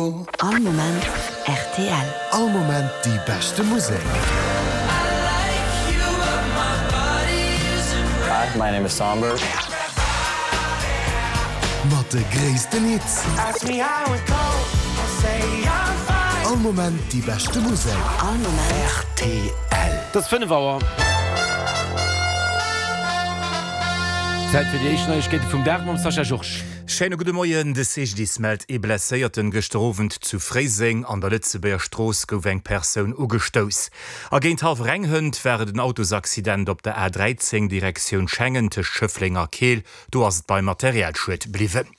All Moment rtl. All Moment déi beschte Musek. Hi, my name is Somber. Mat de gréissten Hits. All Moment déi beschte Musek. All Moment rtl. Et ass 5 Auer. Zäit fir déi éischt Neiegkeete vum Dag mam Sascha Georges. Schéine gudde Moien, De CGDIS mellt ee Blesséierten. Gëschter Owend zu Fréiseng an der Lëtzebuerger Strooss gouf eng Persoun ugestouss. A géint hallwer eng hënt war et en Autosaccident op der A 13 Direktioun Schengen tëscht Schëffleng a Keel. Do ass et beim Materialschued bliwwen.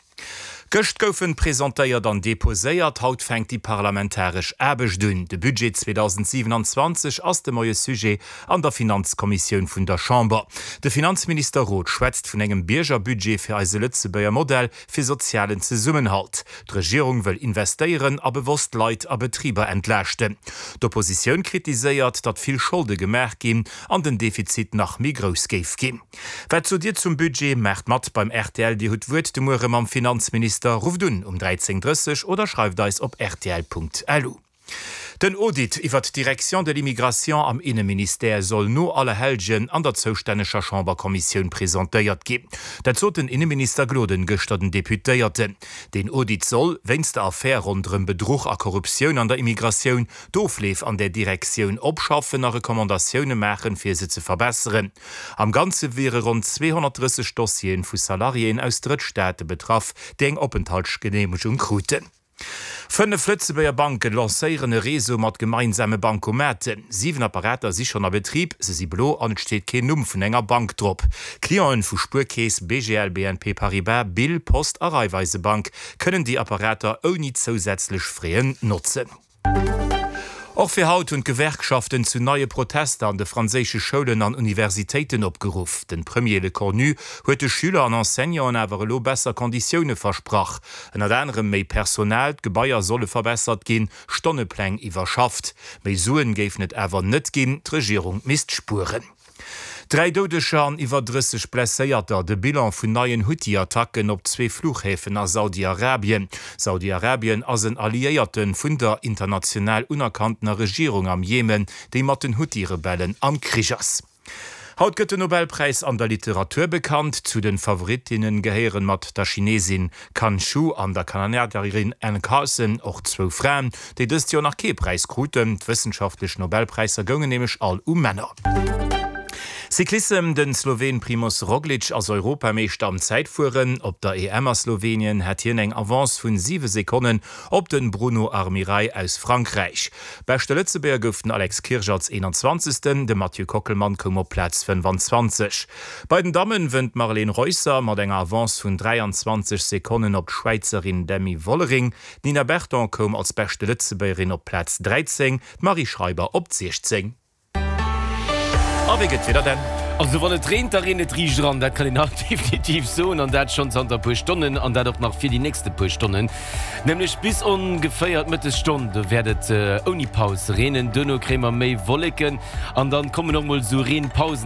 Gëscht goufen presentéiert an deposéiert, haut fänkt déi parlamentaresch Aarbecht un. De Budget 2027 ass de Moie Sujet an der Finanzkommissioun vun der Chamber. De Finanzminister Roth schwätzt vun engem Biergerbudget fir eise Lëtzebuerger Modell fir sozialen Zesummenhalt. D'Regierung wëll investéieren a bewosst Leit a Betriber entlaaschten. D'Oppositioun kritiséiert, datt vill Scholde gemaach ginn an den Defizit nach méi grouss géif ginn. Wat sot Dir zum Budget? Maacht mat beim rtl Dir hutt d'Wuert de Muere mam Finanzminister. Rufft un um 13:30 oder schreift eis op rtl.lu. Den Audit iwwert d'Direction de l'immigration am Inneministère soll no Allerhellgen an der zoustänneger Chamberkommissioun presentéiert ginn. Dat sot den Inneminister Gloden gëschter den Deputéierten. Deen Audit soll, wéinst der Affär ronderëm Bedruch a Korruptioun an der Immigratioun, d'Ofleef an där Direktioun opschaffen a Recommandatioune maachen, fir se ze verbesseren. Am Ganze wiere ronn 230 Dossiere vu Salariéen aus Drëttstaate betraff, déi eng Openthaltsgeneemegung kruten. 5 Lëtzebuerger Banke lancéieren e Réseau mat gemeinsame Bancomaten. 7 Apparater si schonn a Betrib, se si blo an et steet keen Numm vun enger Bank drop. Clienten vu Spuerkeess, BGL, BNP Paribas, Bill, Post a Raiffeisebank kënnen déi Apparater ouni zousätzlech Frais notzen. Och fir haut hunn d'Gewerkschaften zu neie Protester an de franséische Schoulen an Universitéiten opgeruff. Den Premier Lecornu huet de Schüler an Enseignanten awer elo besser Konditioune versprach. Ënnert anerem méi Personal, d'Gebaier solle verbessert ginn, Stonnepläng iwwerschafft. Méi Suen géifen et awer net ginn, d'Regierung misst spueren. 3 Doudeger an iwwer 30 Blesséierter, de Bilan vun neien Huthi-Attacken op zwee Fluchhäfen a Saudi-Arabien. Saudi-Arabien ass en Alliéierte vun der international unerkanntener Regierung am Jemen, déi mat den Huthi-Rebellen am Krich ass. Haut gëtt den Nobelpräis an der Literatur bekannt. Zu de Favoritinnen gehéieren mat der Chinesin Kan Shu an der Kanadierin Anne Carson och zwou Fraen, déi dëst Joer nach kee Präis kruten. D'wëssenschaftlech Nobelpräisser goungen nämlech all u Männer. Cyclissem, Den Sloween Primoz Roglic ass Europameeschter am Zäitfueren. Op der EM a Slowenien hat hien eng Avance vun 7 Sekonnen op den Bruno Armirail aus Frankräich. Beschte Lëtzebuerger gouf den Alex Kirsch als 21. De Mathieu Kockelmann koum op Plaz 25. Bei den Dammen wënnt d'Marlene Reusser mat enger Avance vun 23 Sekonnen op d'Schwäizerin Demi Vollering. D'Nina Berton koum als beschte Lëtzebuergerin op d'Plaz 13, d'Marie Schreiber op d'Sechzéng. A wéi gëtt d'Wieder denn? Also wann et reent, da reent et riicht eran, dat kann een haut definitiv soen, an dat schonn zanter e puer Stonnen, an dat och nach fir déi nächste puer Stonnen, nämlech bis ongeféier d'Mëttesstonn. Do wäert et ouni Paus reenen, duerno kréie mer méi Wolleken an dann kommen och mol esou Reenpausen.